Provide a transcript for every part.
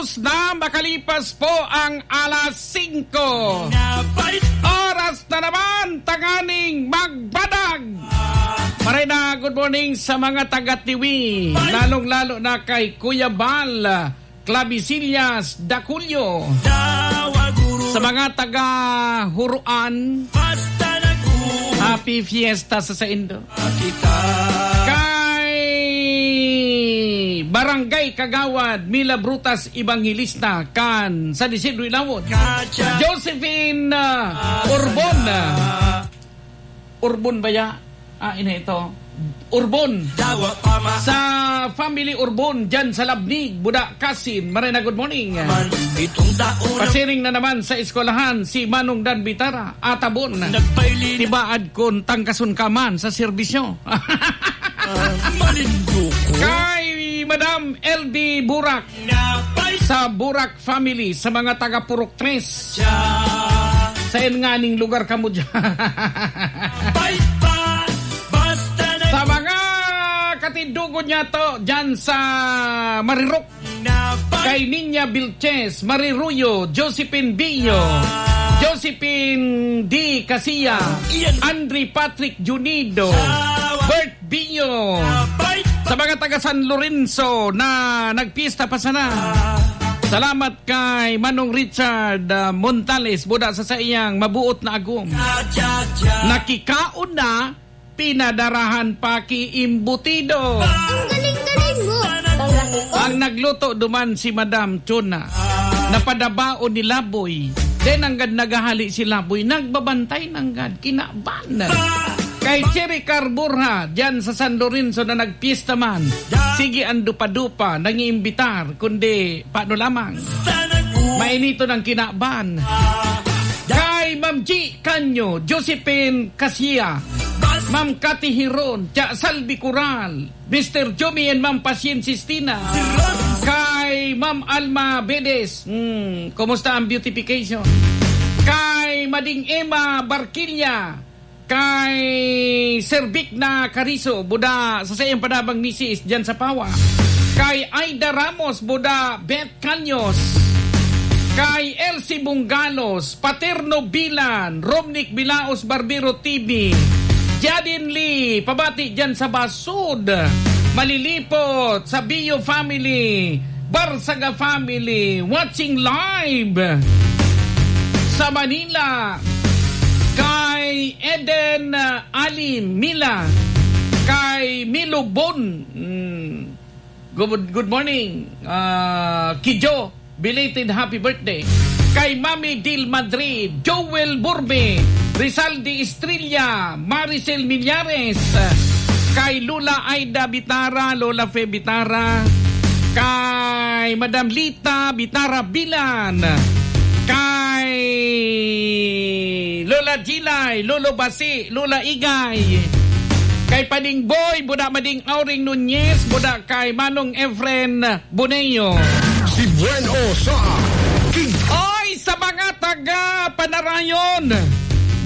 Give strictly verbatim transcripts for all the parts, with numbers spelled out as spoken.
Na makalipas po ang alas singko. Oras na naman tanganing magbadag. Maray na good morning sa mga taga Tiwi, lalong-lalo na kay Kuya Bal Clavisillas Daculio. Sa mga taga Huruan, happy fiesta sa saindo. Kay Barangay Kagawad Mila Brutas Evangelista kan San Isidro Ilawod, Josephine, ah, Urbon. Urbon ba ya? Ah, ina ito. Urbon. Sa family Urbon, dyan sa Labnig, Buda, Kasin. Maray na good morning. Pasiring na naman sa eskwelahan si Manong Dan Bitara, Atabon. Tibaad kun tangkason ka man sa serbisyo. Kay Madam L B Burak sa Burak family, sa mga taga Purok Tres. Sa nganing lugar kamo dyan. Sa mga katindogon niya to, dyan sa Marirok. Kay Niña Vilches, Mariruyo, Josephine Bio, Josephine D. Casiya, Andre Patrick Junido, Bert Bio. Sa mga taga San Lorenzo na nagpiyesta pa sana. Salamat kay Manong Richard, ah, Montales, buda sa saiyang mabuot na agom. Nakikaon na, pinadarahan pa ki imbutido. Ang galing-galing mo. Ang nagluto duman si Madam Chona. Napadabaon ni Laboy. Then, nanggad naghahali si Laboy, nagbabantay nanggad, kinaban. Kay Cherry Carburha, dyan sa San Lorenzo na nagpiyesta man. Sige, ang dupa-dupa, nangiimbitar, kundi paano lamang? Mainito ng kinaban. Kay Ma'am G. Canyo, Josephine Casia, Ma'am Cathy Hiron, Tia Salvi Coral, Mister Jomi and Ma'am Pasyen Sistina. Kay Ma'am Alma Bedes, hmm, kumusta ang beautification? Kay Mading Emma Barquilla, kay Sir Vic na Carizo, buda sa saiyang panabang misis dyan sa Pawa. Kay Aida Ramos, buda Beth Caños. Kay Elsie Bungalos, Paterno Bilan, Romnick Bilaos Barbero T V, Jadin Lee, pabati dyan sa Basud, Malilipot, sa Bio Family, Barsaga Family, watching live sa Manila, kay Eden, uh, Ali Mila, kay Milo Bon, mm, good, good morning, ah, Kijo, belated happy birthday. Kay Mami Dil Madrid, Joel Burbe, Rizal de Estrella, Maricel Millares, kay Lola Aida Bitara, Lola Fe Bitara, kay Madam Lita Bitara Bilan, kay Lola Jilay, Lolo Basi, Lola Igay, kay Pading Boy, buda Mading Auring Nunez, buda kay Manong Efren Boneo. Si Buen O sa King. Oy, sa mga taga Panarayon,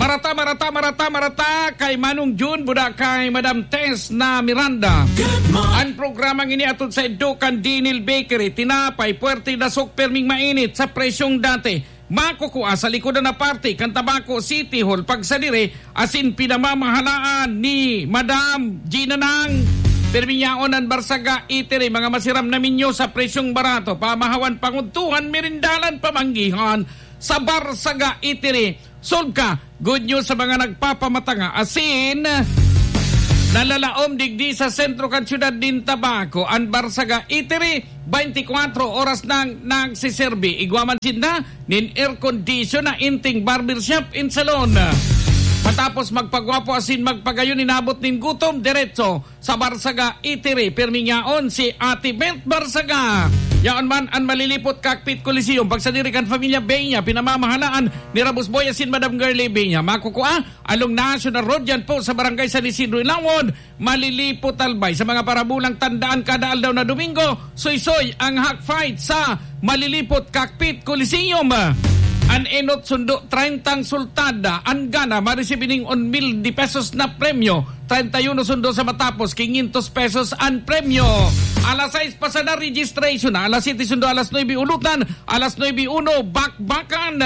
marata, marata, marata, marata kay Manong Jun, buda kay Madam Tess na Miranda. Good morning. Ang programang ini atod sa Edukan Dinil Bakery, tinapay, puwerte, dasok, perming mainit sa presyong dati. Makukua sa likodan na parte kan Tabaco City Hall, pagsadiri, asin pinamamahalaan ni Madam Gina Nang. Permi yaon an Barsaga Eatery, mga masiram na menyo sa presyong barato, pamahawan, pangudtuhan, merindalan, pamanggihan sa Barsaga Eatery. Solve ka! Good news sa mga nagpapamatanga asin nalalaom digdi sa sentro kan siyudad nin Tabaco. An Barsaga Eatery, twenty-four oras nang nagsiserbi. Igwa man sinda nin air condition na inting barbershop and salon. Matapos magpagwapo asin magpagayon, inabot nin gutom, diretso sa Barsaga Eatery. Pirmi yaon si Ate Beth Barsaga. Yaon man an Malilipot Cockpit Coliseum. Pagsadiri kan Familia Beña, pinamamahalaan ni Rabos Boy asin Madam Girlie Beña. Makukua along National Road, yan po sa Barangay San Isidro, Ilawod, Malilipot, Albay. Sa mga parabulang, tandaan, kada aldaw na Domingo, soy-soy ang Hack Fight sa Malilipot Cockpit Coliseum. An enot sundo, treinta ang sultad. An gana, ma-receive ining un mil de pesos na premyo. Treinta y uno sundo sa matapos, quinientos pesos an premyo. Alas sais pa sana registration na. Alas siyete sundo, alas nuebe ulutan, alas nuebe uno, bakbakan.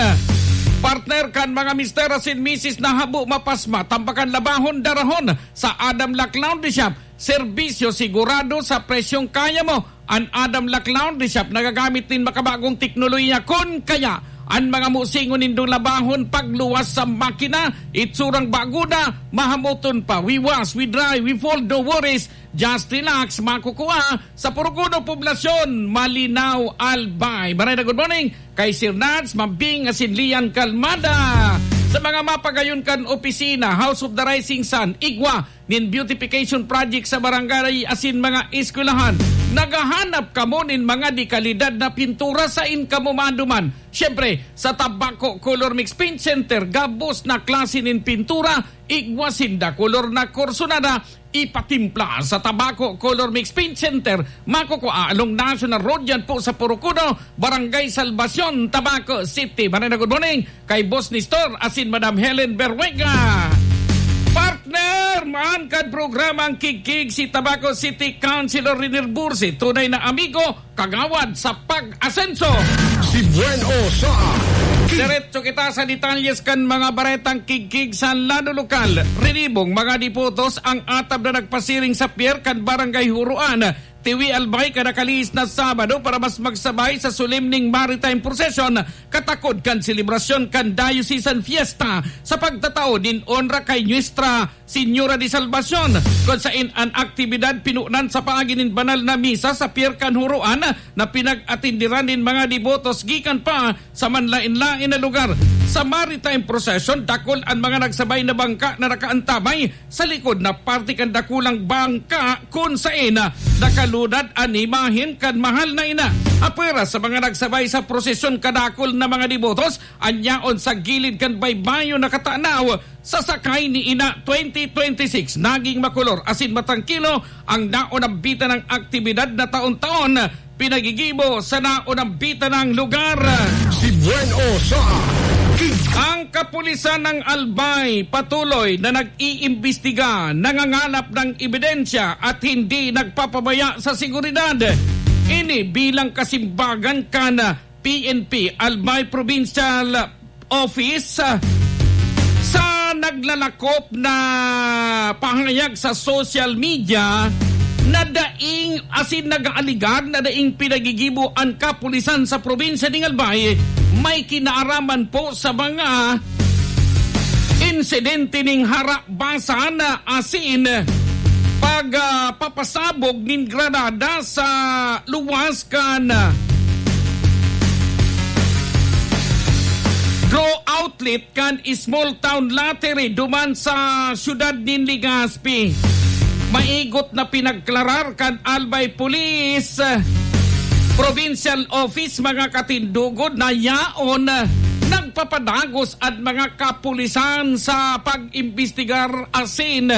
Partner, kan mga mister asin misis na habo mapasma, tambakan labahon, darahon sa Adam Lac Laundry Shop. Serbisyo sigurado sa presyong kaya mo. An Adam Lac Laundry Shop nagagamit nin makabagong teknolohiya, kun kaya an mga musingon nindong labahon pagluwas sa makina, itsurang bago na, mahamoton pa. We wash, we dry, we fold, no worries. Just relax, makukua sa Purok Uno Poblasyon, Malinao, Albay. Maray na good morning kay Sir Nats, Mabing, asin Lian Kalmada. Sa mga mapagayon kan opisina, House of the Rising Sun, igwa nin beautification project sa barangay asin mga eskwelahan. Naghahanap kamo nin mga dekalidad na pintura? Sain kamo maduman? Siyempre, sa Tabaco Color Mix Paint Center, gabos na klase nin pintura, igwa sinda kolor na kursunada, ipatimpla sa Tabaco Color Mix Paint Center. Makukua along National Road, yan po sa Purok Uno, Barangay Salvacion, Tabaco City. Maray na good morning kay Boss Nestor asin Madam Helen Berwega. Partner, maan kan programang Kigkig si Tabaco City Councilor Renier Bursi, tunay na amigo, kagawad sa pag-asenso. Si Buen O sa Kig- Diretso kita sa detalyes kan mga baretang kigkig sa lado lokal. Rinibong mga debotos ang atab na nagpasiring sa pier kan Barangay Huroan, Tiwi, Albay, kada kalihis na Sabado para mas magsabay sa solemneng maritime procession katakod kan selebrasyon kan Diocesan Fiesta sa pagtatao nin onra kay Nuestra Señora de Salvacion, kun sain an aktibidad pinunan sa paagi nin banal na misa sa pier kan Huroan na pinag-atenderan nin mga debotos gikan pa sa manlaen-laen na lugar. Sa maritime procession, dakul an mga nagsabay na bangka na nakaantabay sa likod na parte kan dakulang bangka kun saen nakalunad an imahen kan Mahal na Ina. Apwera sa mga nagsabay sa prosesyon kadakul na mga debotos, an yaon sa gilid kan baybayon nakatanaw sa Sakay ni Ina twenty twenty-six. Naging makolor asin matrangkilo ang naunambitan ng aktibidad na taon-taon pinagigibo sa naunambitan ng lugar. Si Buen O sa Kig- Ang kapulisan ng Albay patuloy na nag-iimbestiga, nangangalap ng ebidensya at hindi nagpapabaya sa seguridad. Ini bilang kasimbagan kan P N P Albay Provincial Office, ah, sa naglalakop na pahayag sa social media na daing, asin nag-aaligar na daing pinagigibo an kapulisan sa probinsya ning Albay, may kinaaraman po sa mga insidente ning harabasan, asin pag, ah, papasabog nin granada sa luwas kan, ah, draw outlet kan Small Town Lottery duman sa siyudad nin Legazpi. Maigot na pinagklarar kan Albay Police, ah, Provincial Office, mga katindogon, na yaon, ah, nagpapadagos an mga kapulisan sa pag-imbestigar asin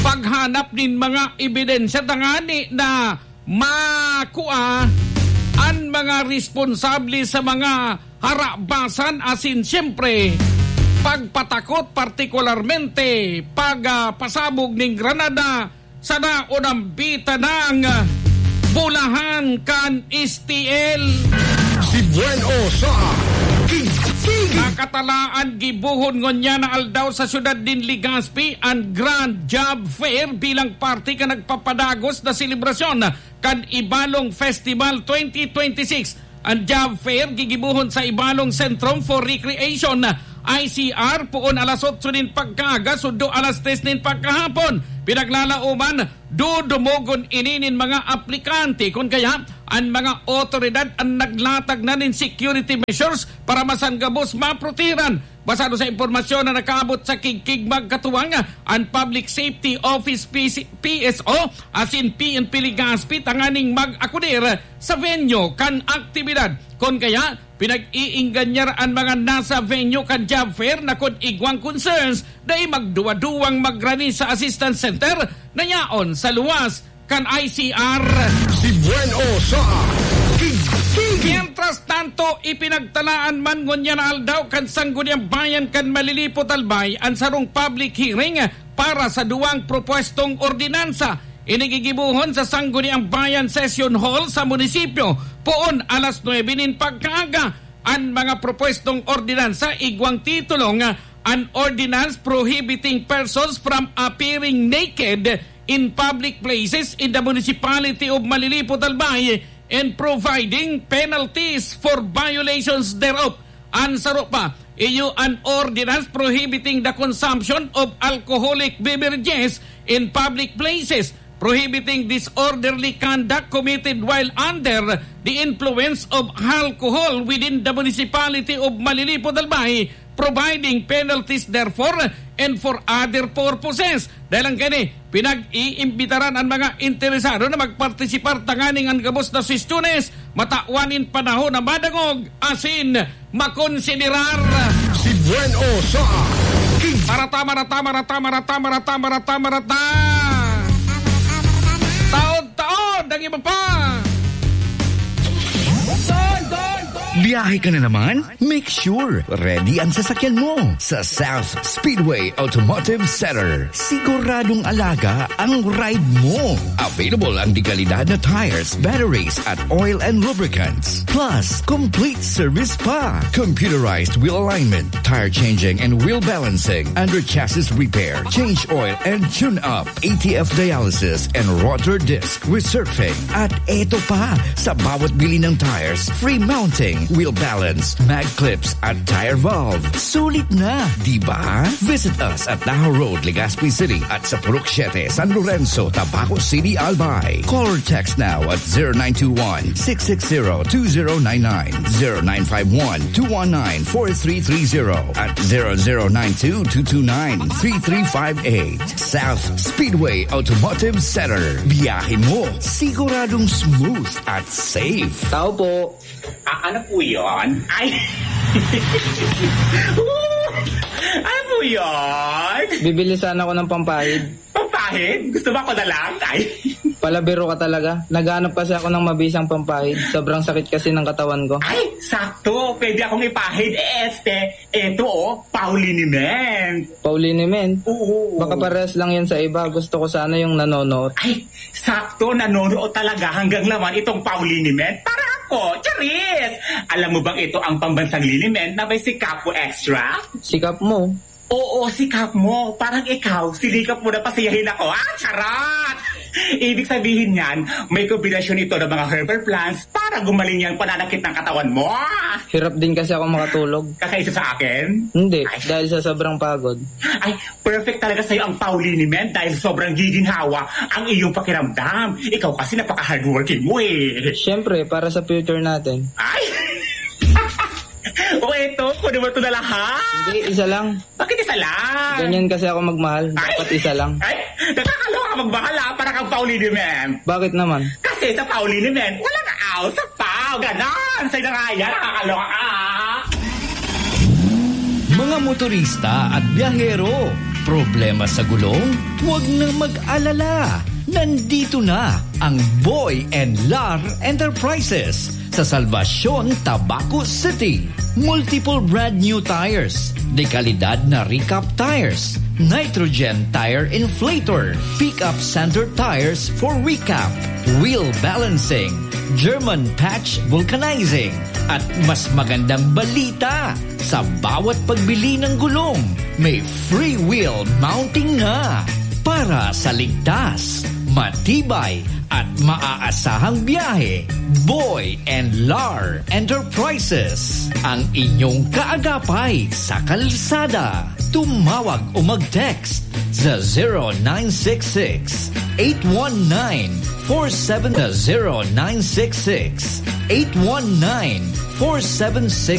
paghanap nin mga ebidensya tangani na makua an mga responsable sa mga harabasan asin, siyempre, pagpatakot, partikularmente pag, ah, pasabog nin granada sa naunambitan ng bulahan kan S T L. Si Buen O sa Kig- Kig- Nakatalaan gibohon ngunyan na aldaw sa siyudad nin Legazpi an Grand Job Fair bilang parte kan nagpapadagos na selebrasyon kan Ibalong Festival twenty twenty-six. An job fair gigibohon sa Ibalong Centrum for Recreation, I C R, poon alas otso nin pagkaaga, sundo alas tres nin pagkahapon. Pinaglalaoman, dudumogon ini nin mga aplikante. Kun kaya, an mga otoridad an naglatag na nin security measures para masan gabos maprotehiran. Basado sa impormasyon na nakaabot sa Kigkig, magkatuwang an Public Safety Office, P C, P S O, asin P N P Legazpi tanganing mag-akudir sa venue kan aktibidad. Kun kaya, pinag-iingganyar an mga nasa venue kan job fair na kun igwang concerns, dai magduwa-duwang magrani sa assistance center na yaon sa luwas kan I C R. Si Buen O sa Kig- Kig- Mientras tanto, Ipinagtalaan man ngunyan na aldaw kan Sangguniang Bayan kan Malilipot, Albay, an sarong public hearing para sa duwang propwestong ordinansa. Ini gigibohon sa Sangguniang Bayan Session Hall sa munisipyo, poon alas nuebe nin pagkaaga. An mga propwestong ordinansa igwang titulo nga An Ordinance Prohibiting Persons from Appearing Naked in Public Places in the Municipality of Malilipot, Albay, and Providing Penalties for Violations thereof. An saro pa, iyo an Ordinance Prohibiting the Consumption of Alcoholic Beverages in Public Places, Prohibiting Disorderly Conduct Committed While Under the Influence of Alcohol within the Municipality of Malilipot, Albay, Providing Penalties Therefor and for Other Purposes. Dahil ang kini, pinag-iimbitaran an mga interesado na magpartisipar tanganing an gabos na sesyones matawan nin panahon na madangog asin makonsiderar. Si Buen O sa King Marata, marata, marata, marata, marata, marata, marata. Taon-taon, ang iba pa. Biyahe ka na naman? Make sure ready ang sasakyan mo. Sa South Speedway Automotive Center, siguradong alaga ang ride mo. Available ang dekalidad na tires, batteries at oil and lubricants. Plus, complete service pa. Computerized wheel alignment, tire changing and wheel balancing, under chassis repair, change oil and tune up, A T F dialysis and rotor disc resurfacing. At eto pa, sa bawat bili ng tires, free mounting, wheel balance, mag clips at tire valve. Sulit na, di ba? Visit us at Tajo Road, Legazpi City at sa Purok Siete, San Lorenzo, Tabaco City, Albay. Call or text now at zero nine two one, six six zero, two zero nine nine, zero nine five one, two one nine, four three three zero at zero zero nine two, two two nine, three three five eight. South Speedway Automotive Center. Biyahe mo, siguradong smooth at safe. Tao po. Ah, ano po yun? Ay! Ano po yun? Bibili sana ako ng pampahid. Pampahid? Gusto mo ako na lang? Ay! Palabiro ka talaga. Naghahanap kasi ako ng mabisang pampahid. Sobrang sakit kasi ng katawan ko. Ay, sakto. Pwede akong ipahid. Eh, este, eto oh, Pauliniment. Pauliniment? Oo. Baka parehas lang yan sa iba. Gusto ko sana yung nanonoot. Ay, sakto, nanonood talaga hanggang laman itong Pauliniment para ako. Charis! Alam mo bang ito ang pambansang liniment na may Sikapo Extra? Sikapo? Oo, Sikapo. Parang ikaw, sinikap mo na pasiyahin ako. Ah, charot! Ibig sabihin niyan, may kombinasyon ito ng mga herbal plants para gumaling yung pananakit ng katawan mo. Hirap din kasi ako makatulog. Kakaisa sa akin? Hindi, Ay. Dahil sa sobrang pagod. Ay, perfect talaga sa'yo ang Pauliniment dahil sobrang giginhawa ang iyong pakiramdam. Ikaw kasi napaka-hardworking mo eh. Siyempre, para sa future natin. Ay! O eto, kunin mo ito na lahat. Hindi, isa lang. Bakit isa lang? Ganyan kasi ako magmahal. Ay! Dapat isa lang. Ay, nakakaloka magmahal ah, para kang Pauliniment. Bakit naman? Kasi sa Pauliniment, walang aw sa pau. Ganon! Sa nakaya, nakakaloka ka. Mga motorista at biyahero, problema sa gulong? Huwag na mag-alala. Nandito na ang Boy and Lar Enterprises sa Salvacion, Tabaco City. Multiple brand new tires, de kalidad na recap tires, nitrogen tire inflator, pickup center tires for recap, wheel balancing, German patch vulcanizing, at mas magandang balita, sa bawat pagbili ng gulong, may free wheel mounting na. Para sa ligtas, matibay, at maaasahang biyahe, Boy and Lar Enterprises, ang inyong kaagapay sa kalsada. Tumawag o mag-text sa zero nine six six, eight one nine, four seven, zero nine six six, eight one nine, four seven six